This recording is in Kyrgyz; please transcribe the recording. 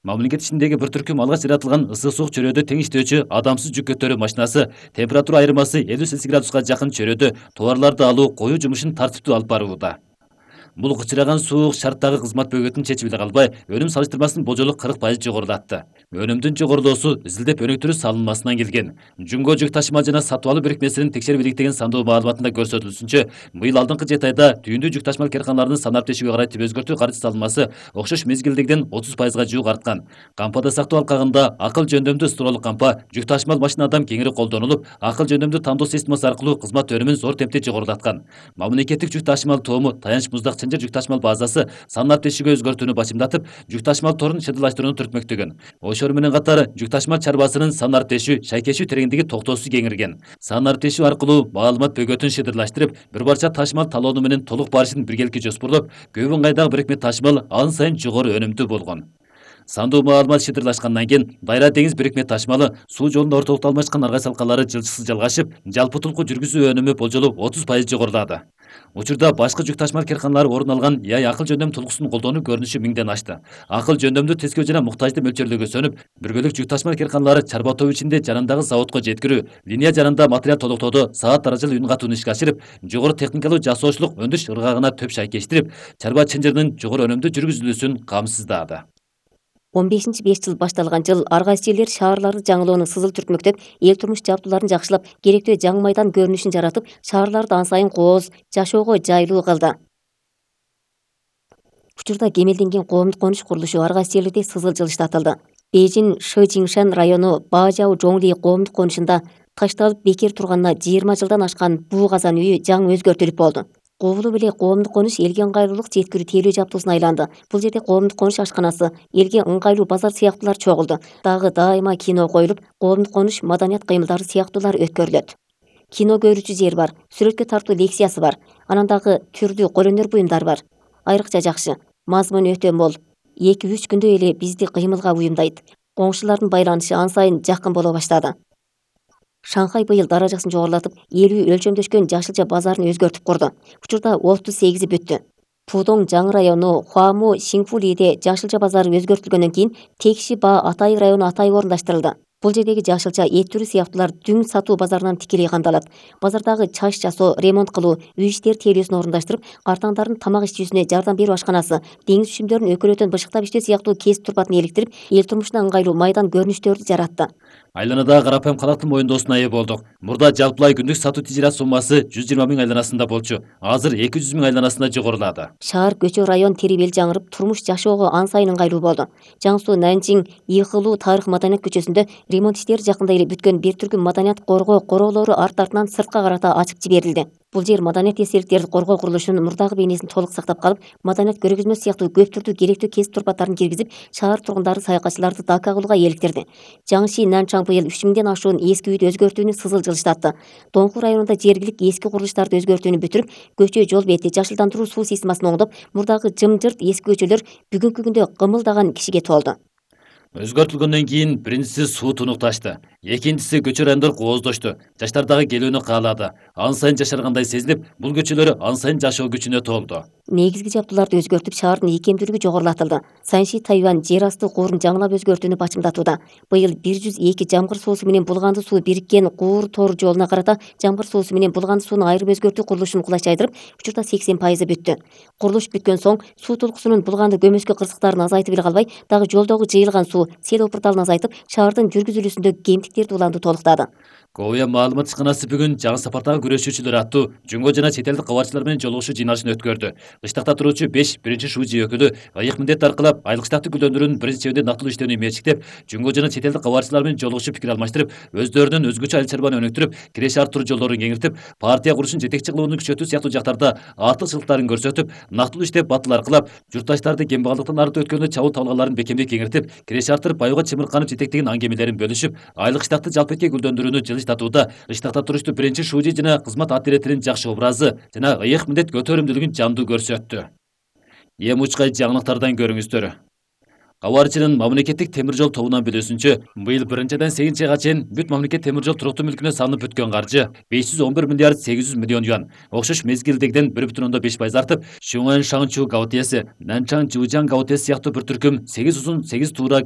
Мамлекет ичиндеги бир түркүм алгач жаратылган ысык суук чөрөдө тең иштөөчү адамсыз жүк көтөрүү машинасы температура айырмасы 50 градуска жакын чөрөдө товарларды алуу, коюу жумушун тартиптүү алып барууда. Бул кычыраган суук шарттагы кызмат бөгөтүн чечип эле калбай, өнүм салыштырмасынын болжолу 40% жогорулатты. Өнүмдүн жогорулоосу изилдеп өнүктүрүү салынмасынан келген. Жумго жүк ташыма жана сатып алуу бирикмесинин текшерип иликтеген сандоо маалыматында көрсөтүлүшүнчө, быйыл алдыңкы 7 айда түйүндүү жүк ташымал карканаларынын санап тешүүгө карай түп өзгөртүү каржы салынмасы окшош мезгилдегиден 30%га жуук арткан. Кампада сактоо алкагында акыл жөндөмдүү строолук кампа жүк ташымал машинадан кеңири колдонулуп, акыл жөндөмдүү тандоо системасы аркылуу кызмат өнүмүн зор темпте жогорулаткан. Мамлекеттик жүк ташымал тоому таянч муздак чынжыр жүк ташымал базасы санап тешүүгө өзгөртүүнү башымдатып, жүк ташымал торун чыдырлаштырууну түртмөктөгөн. Ошол менен катары жүк ташымал чарбасынын санар тешүү, шайкешүү тереңдиги токтоосуз кеңирген. Санар тешүү аркылуу маалымат бөгөтүн шыдырлаштырып, бир парча ташымал талоонуу менен толук барышын биргеликке жоспорлоп, көп ыңгайдагы бирикме ташымал ан сайын жогору өнүмдүү болгон. Сандуу маалымат шыдырлашкандан кийин Дайра деңиз бирикме ташымалы суу жолунда ортолукта алмашкан аргай салкалары жылчысыз жалгашып, жалпы тулку жүргүзүү өнүмү болжолу 30% жогорулады. Учурда башкы жүк ташымал карканалары орун алган ЯАЙ акыл жөндөм тулкусун колдонуу көрүнүшү 1000ден ашты. Акыл жөндөмдүү тескөө жана муктажды мөлчөрлөөгө сөнүп, биргөлүк жүк ташымал карканалары чарба тобу ичинде жанындагы заводко жеткирүү, линия жанында материал толуктоодо саат даражалуу үн катууну ишке ашырып, жогору техникалуу жасоочулук өндүрүш ыргагына төп шайкештирип, чарба чынжырынын жогору өнүмдүү жүргүзүлүүсүн камсыздады. 15-5 жыл башталган жыл ар кайсы жерлер шаарларды жаңылоону сызыл түртмөктөп, эл турмуш жабдууларын жакшылап, керектүү жаңы майдан көрүнүшүн жаратып, шаарларды ан сайын кооз, жашоого жайлуу кылды. Учурда кемелденген коомдук конуш курулушу ар кайсы жерлерде сызыл жылыштатылды. Бейжин Шижиңшан району Бажау Жоңли коомдук конушунда ташталып бекер турганына 20 жылдан ашкан буу казан үйү жаңы өзгөртүлүп болду. Кобулуп эле коомдук конуш элге ыңгайлуулук жеткирүү тейлөө жабдуусуна айланды. Бул жерде коомдук конуш ашканасы, элге ыңгайлуу базар сыяктуулар чогулду. Дагы дайыма кино коюлуп, коомдук конуш маданият кыймылдары сыяктуулар өткөрүлөт. Кино көрүүчү жер бар, сүрөткө тартуу лекциясы бар. Анан дагы түрдүү кол өнөр буюмдары бар. Айрыкча жакшы, мазмун өтө мол. 2-3 күндө эле бизди кыймылга уюмдайт. Коңшулардын байланышы ан сайын жакын боло баштады. Шанхай быйыл даражасын жогорулатып, 50 өлчөмдөшкөн жашылча базарын өзгөртүп курду. Учурда 38 бүттү. Пудong жаңы району Хуаму Сиңфулиде жашылча базары өзгөртүлгөндөн кийин Текши Ба Атай району Атай орундаштырылды. Бул жердеги жашылча эт түрү сыяктуулар дүң сатуу базарынан тикелей камдалат. Базардагы чач жасоо, ремонт кылуу, үй иштери тейлөөсүн орундаштырып, картаңдардын тамак ичүүсүнө жардам берүү ашканасы, деңиз үшүмдөрүн өкөлөтөн бышыктап иштөө сыяктуу кесип турпатын иликтирип, эл турмушуна ыңгайлуу майдан көрүнүштөрдү жаратты. Айланада карапайым калктын моюндоосуна ээ болдук. Мурда жалпылай күндүк сатуу тижират суммасы 120 000 айланасында болчу. Азыр 200 000 айланасына жогорулады. Шаар көчө район терибел жаңырып, турмуш жашоого ан сайын ыңгайлуу болду. Жаңы Суу Нанчиң Ийхылуу тарых маданият көчөсүндө ремонт иштери жакында эле бүткөн бир түркүм маданият коргоо короолору арт-артынан сыртка карата ачып жиберилди. Бул жер маданият эстеликтерди коргоо курулушунун мурдагы бейнесин толук сактап калып, маданият көргөзмө сыяктуу көп түрдүү керектүү кесип турпаттарын киргизип, шаар тургундары саякатчыларды дака кылууга eelиктирди. Жаңы Нанчаң быйыл 3000ден ашуун эски үйдү өзгөртүүнү сызыл жылыштатты. Доңку районунда жергилик эски курулуштарды өзгөртүүнү бүтүрүп, көчө жол бети жашылдандыруу суу системасын оңдоп, мурдагы жымжырт эски көчөлөр бүгүнкү күндө кымылдаган кишиге толду. Өзгөртүлгөндөн кийин биринчиси суу тунукташты, экинчиси көчө райондор кооздошту, жаштардагы келүүнү каалады. Ан сайын жашаргандай сезилип, бул көчөлөр ан сайын жашоо күчүнө толду. Негизги жабдууларды өзгөртүп, шаардын ийкемдүүлүгү жогорулатылды. Санши Тайвань жер асты куурун жаңылап өзгөртүүнү бачымдатууда. Быйыл 102 жамгыр суусу менен булганды суу бириккен куур тор жолуна карата жамгыр суусу менен булганды сууну айырып өзгөртүү курулушун кулачайдырып, учурда 80% бүттү. Курулуш бүткөн соң суу толкусунун булганды көмөскө кырсыктарын азайтып эле калбай, дагы жолдогу жыйылган суу сел опурталын азайтып, шаардын жүргүзүлүүсүндөгү кемтиктерди уланды толуктады. Ковия маалымат ишканасы бүгүн жаңы сапардагы күрөшүүчүлөр аттуу жумго жана чет элдик кабарчылар менен жолугушуу жыйналышын өткөрдү. Кыштакта туруучу 5 биринчи шужи өкүлү ыйык милдет аркылап айыл кыштакты гүлдөндүрүүнүн биринчи чебинде нактылуу иштөөнү мээчиктеп, жумго жана чет элдик кабарчылар менен жолугушуп пикир алмаштырып, өздөрүнүн өзгөчө айыл чарбаны өнүктүрүп, киреше арттыруу жолдорун кеңиртип, партия курушун жетекчи кылууну күчөтүү сыяктуу жактарда артыкчылыктарын көрсөтүп, нактылуу иштеп батыл аркылап, журтташтарды кембагалдыктан арты өткөндө чабуул табылганларын бекемдей кеңиртип, киреше арттырып баюуга чымырканып жетектеген аңгемелерин бөлүшүп, айыл кыштакты жалпыэки гүлдөндүрүүнү жылыштатууда кыштакта туруштуу биринчи шужи жана кызмат аттеретинин жакшы образы жана ыйык милдет көтөрүмдүүлүгүн жандуу көрсөттү. Эми учкай жаңылыктардан көрүңүздөр. Кабарчынын мамлекеттик темир жол тобунан билүүсүнчө, быйыл 1-8 айга чейин бүт мамлекет темир жол туруктуу мүлкүнө салынып бүткөн каржы 511 миллиард 800 миллион юан. Окшош мезгилдегиден 1,5% артып, Шуңэн Шаңчу Гаотеси, Нанчаң Жужаң Гаотеси сыяктуу бир түркүм 8 узун 8 туура